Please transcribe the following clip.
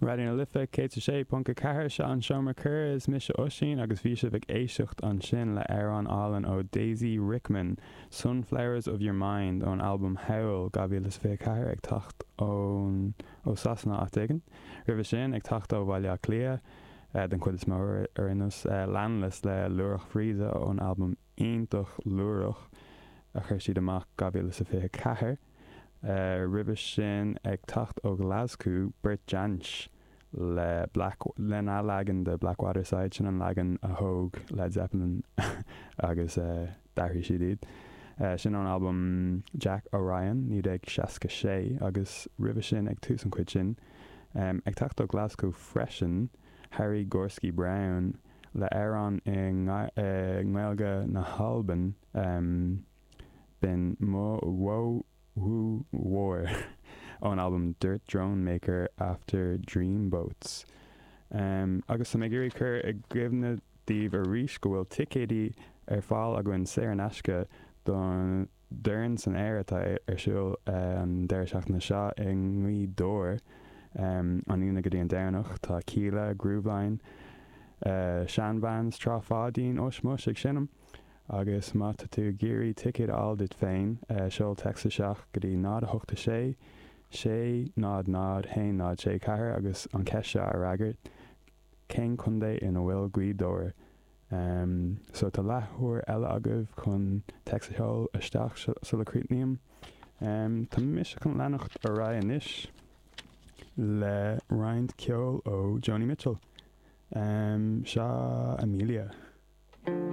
Raidió na Life 106.4, seo an Seomra Comhrá, is mise Oisín agus bhí sibh ag éisteacht ansin le amhrán álainn ó Daisy Rickman, Sunflowers of Your Mind ón albam Howl 2024 ag teacht ón ó Sasana áit éigin. Roimhe sin, ag teacht ó Bhaile Átha Cliath, den chuid is mó ar aon nós, Landless le Lúireach Bhríde ón albam iontach Lúireach a chuir siad amach 2024. Roimhe sin, ag teacht ó Ghlaschú, Bert Jansch le Black, lena leagan de Blackwater Side, sin an leagan a thóg Led Zeppelin agus d'athraigh siad iad. Sin ón albam Jack Orion, 1966, agus roimhe sin, ag tús an chuid sin, ag teacht ó Ghlaschú freisin, Harry Gorsky Brown le amhrán i nGaeilge na hAlban, B'in Mo Bhó Mhór ón albam Dirt Drone Maker After Dreamboats. Agus tá mé ag iarraidh cur i gcuimhne daoibh arís go bhfuil ticéidí ar fáil againn saor in aisce don Dorn san Aer atá ar siúl an deireadh seachtaine seo i nGaoth Dobhair, an Aoine go dtí an Domhnach. Tá Kíla, Grooveline, Shan-Vans, Trá Pháidín, Ush Mush ag seinm. Agus má tá tú ag iarraidh ticéad a fháil duit féin, seol téacs isteach go dtí 0 8 6 6 0 0 1 0 6 4 agus an cheist seo a fhreagairt, Cén contae ina bhfuil Gaoth Dobhair? So tá leathuair eile agaibh chun téacs a sheol isteach sula críochnaím. Tá mise chun leanacht ar aghaidh anois le roinnt ceoil ó Joni Mitchell. Seo Amelia.